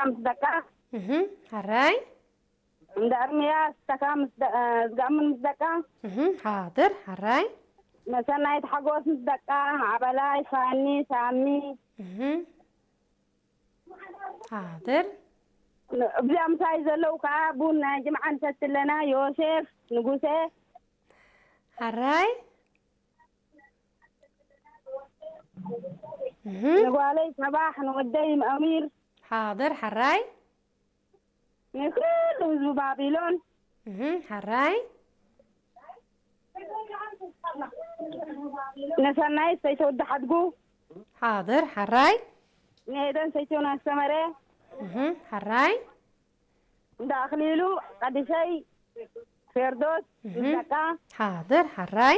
ምስ ደቃ፣ እህ፣ ሕራይ። እንዳ እርምያስ ተካ ምስ ደ- ዝጋምን ምስ ደቃ፣ እህ፣ ሓድር፣ ሕራይ። መሰናይት ሓጎስ ምስ ደቃ፣ ዓበላይ ፋኒ ሳሚ፣ እህ፣ ሓድር። እዚኣ ምሳይ ዘለዉ ከዓ ቡን ናይ ጅምዓ ንሰቲ ኣለና። ዮሴፍ ንጉሴ፣ ሕራይ። እህ፣ ንጓለይ ሰባሕ፣ ንወደይ ኣሚር፣ ሓድር፣ ሕራይ። ንኩሉ ህዝቢ ባቢሎን፣ እህ፣ ሕራይ። ንሰናይት ሰይተወዲ ሓድጉ፣ ሓድር፣ ሕራይ። ንኤደን ሰይተውን ኣስተመረ፣ እህ፣ ሕራይ። እንዳ ኣኽሊሉ ቀዲሰይ፣ ፌርዶስ፣ እህ፣ ምስ ደቃ፣ ሓድር፣ ሕራይ።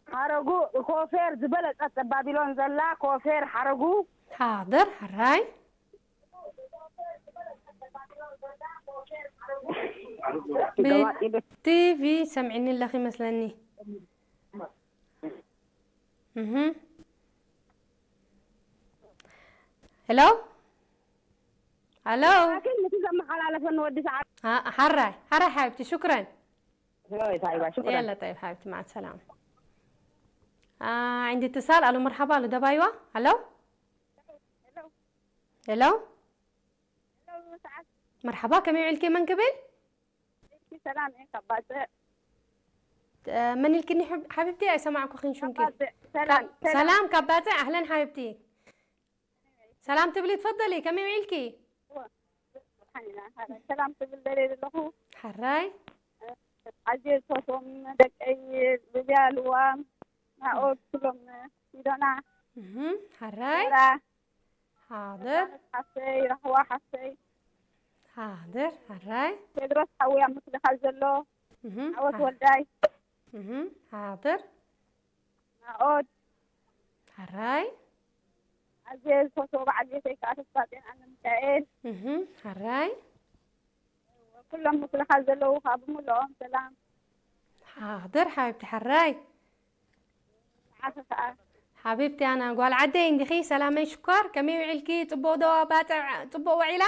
ሓረጉ፣ ኮፌር ዝበለጸት ባቢሎን ዘላ ኮፌር ሓረጉ፣ ሓድር፣ ሕራይ። ገባጢ ቤት ቲቪ ሰምዒኒ ኣለኺ ይመስለኒ። እህ። ሄሎ? ሄሎ? ላኪን ነቲ ዘመሓላለፈኒ ወዲ ሰዓት አ- ሓራይ፣ ሓራይ ሓቢብቲ፣ ሽኩረን። ሆይ ታይባ ሽኩረን የለ፣ ጠይብ ሓቢብቲ፣ ማዕ ሰላም። አ፣ عندي اتصال። ኣሎ፣ መርሓባ፣ ኣሎ፣ ደባይዋ። ሄሎ? ሄሎ? መርሓባ፣ ከመይ ውዒልኪ? መን ክብል? ሰላም እየ ካብ ባጽዕ እ፣ መን ኢልክኒ ሓብ- ሓቢብቲ? ኣይሰማዕኩኽን ሽምኪ። ባጽዕ ሰላም ሰላም ካብ ባጽዕ። ኣህለን ሓቢብቲ። ሰላም ትብሊ ትፈደሊ። ከመይ ውዒልኪ? ሓኒና ሰላም ትብል ደልየ ዘለኹ ሓራይ። ኣዝየ ዝፈትዎም ደቀይ ሉብያ ልዋም ናኦድ ኩሎም ሲዶና እህ፣ ሓራይ። ራ ሓድር። ሓፍተይ ራህዋ ሓፍተይ ሓድር። ሓራይ። ቴድሮስ ሓዊ ኣብ ምክልኻል ዘሎ እህ፣ ዓወት ወልዳይ እህ፣ ሓድር። ናኦድ ሓራይ። ኣዝየ ዝፈትዎ በዓል ቤተይ ከዓ ተስፋጽዮን ኣነ ሚካኤል እህ፣ ሓራይ። ኩሎም ምክልኻል ዘለዉ ከዓ ብምልኦም ሰላም ሓድር ሓቢብቲ ሓራይ። ንዓኺ ከዓ ሓቢብቲ ኣና ጓል ዓደይ እንዲኺ ሰላመይ ሽኮር ከመይ ውዒልኪ? ጽቡቕ ዶ ባጽዕ ጽቡቕ ውዒላ?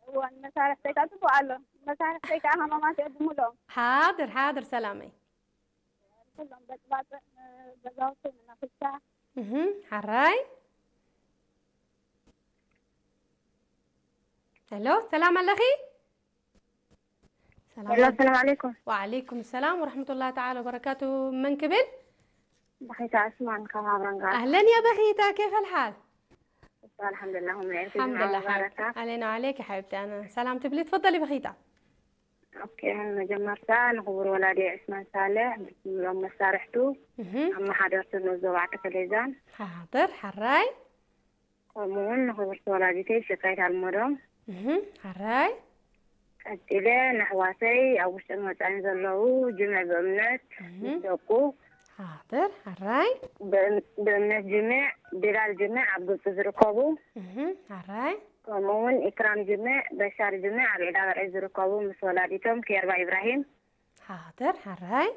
እወ ንመሳርሕተይ ከዓ ጽቡቕ ኣሎ። መሳርሕተይ ከዓ ሃማማት እየ ብምልኦም ሓድር ሓድር ሰላመይ። ኩሎም በጥባጥዕ ገዛውቲ ንነኽሻ እህ፣ ሓራይ። ሄሎ፣ ሰላም ኣለኺ? ሰላም ሄሎ ኣለ- ሰላም ዓለይኩም ወዓለይኩም ሰላም ወረሕመቱላሂ ተዓላ ወበረካቱ። መን ክብል? በኺታ ዕስማን ካብ ሃብረንጋ ኣህለን ያ በኺታ፣ ኬፍ ኣልሓል? ኣልሓምዱላ ኣልሓምዱላ ሓቢብቲ። ኣሌና ዓለይኪ ሓቢብቲ። ኣነ ሰላም ትብሊ ትፈደሊ በኺታ። ኦኬ መጀመርታ ንክቡር ወላዲ ዕስማን ሳልሕ ብስምሎም መሳርሕቱ እህ፣ ኣመሓደርቲ ንኡስ ዞባ ዓዲ ከሌዛን ሓድር ሓራይ። ከምኡ እውን ንክብርቲ ወላዲተይ ሽካይት ኣልመዶም እህ፣ ሓራይ። ቀፂለ ንኣሕዋተይ ኣብ ውሽጥን ወፃኢን ዘለዉ ጅምዕ ብእምነት እህ፣ ምስ ደቁ ሓድር ሓራይ። ብእም- ብእምነት ጅምዕ ቢላል ጅምዕ ኣብ ግብፂ ዝርከቡ እህ፣ ሓራይ። ከምኡ እውን ኢክራም ጅምዕ በሻር ጅምዕ ኣብ ዒዳ በርዒ ዝርከቡ ምስ ወላዲቶም ኬርባ ኢብራሂም ሓድር ሓራይ።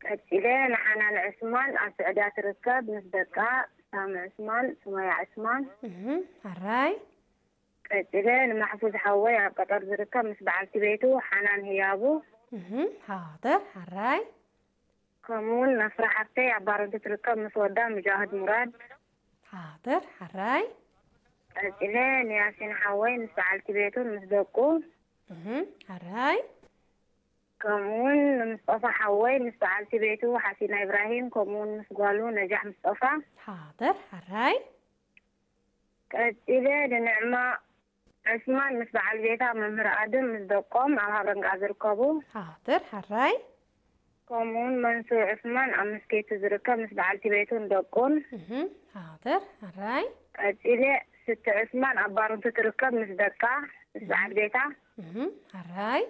ቀፂለ ንሓናን ዕስማን ኣብ ስዕዳ ትርከብ ምስ ደቃ ሳሚ ዕስማን ሱመያ ዕስማን እህ፣ ሓራይ። ቀፂለ ንማሕፉዝ ሓወይ ኣብ ቀጠር ዝርከብ ምስ በዓልቲ ቤቱ ሓናን ህያቡ እህ፣ ሓድር ሓራይ። ከምኡ እውን ነስራ ሓፍተይ ኣብ ባረንቱ ትርከብ ምስ ወዳ ሙጃህድ ሙራድ ሓድር ሓራይ። ቀፂለ ንያሲን ሓወይ ምስ በዓልቲ ቤቱን ምስ ደቁ እህ፣ ሓራይ። ከምኡ እውን ንምስጠፋ ሓወይ ምስ በዓልቲ ቤቱ ሓሲና ኢብራሂም ከምኡ እውን ምስ ጓሉ ነጃሕ ምስጠፋ ሓድር ሓራይ። ቀፂለ ንንዕማ ዕስማን ምስ በዓል ቤታ መምህር ኣድም ምስ ደቆም ኣብ ሃብረንጋ ዝርከቡ ሓድር ሓራይ። ከምኡ እውን መንሱር ዕስማን ኣብ መስኬቱ ዝርከብ ምስ በዓልቲ ቤቱን ደቁን እህ፣ ሓድር ሓራይ። ቀፂለ ስቲ ዕስማን ኣብ ባረንቱ ትርከብ ምስ ደቃ ምስ በዓል ቤታ እህ፣ ሓራይ።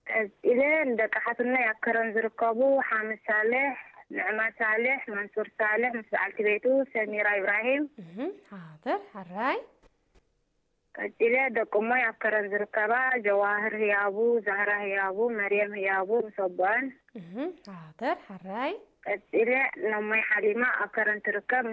ቀፂለ ንደቂ ሓትነይ ኣብ ከረን ዝርከቡ ሓምድ ሳልሕ ንዕማ ሳልሕ መንሱር ሳልሕ ምስ በዓልቲ ቤቱ ሰሚራ ኢብራሂም እህ፣ ሓድር ሓራይ። ቀፂለ ደቂ እሞይ ኣብ ከረን ዝርከባ ጀዋህር ህያቡ ዛህራ ህያቡ መርየም ህያቡ ምስ ኣቦኣን እህ፣ ሓድር ሓራይ። ቀፂለ ነሞይ ሓሊማ ኣብ ከረን ትርከብ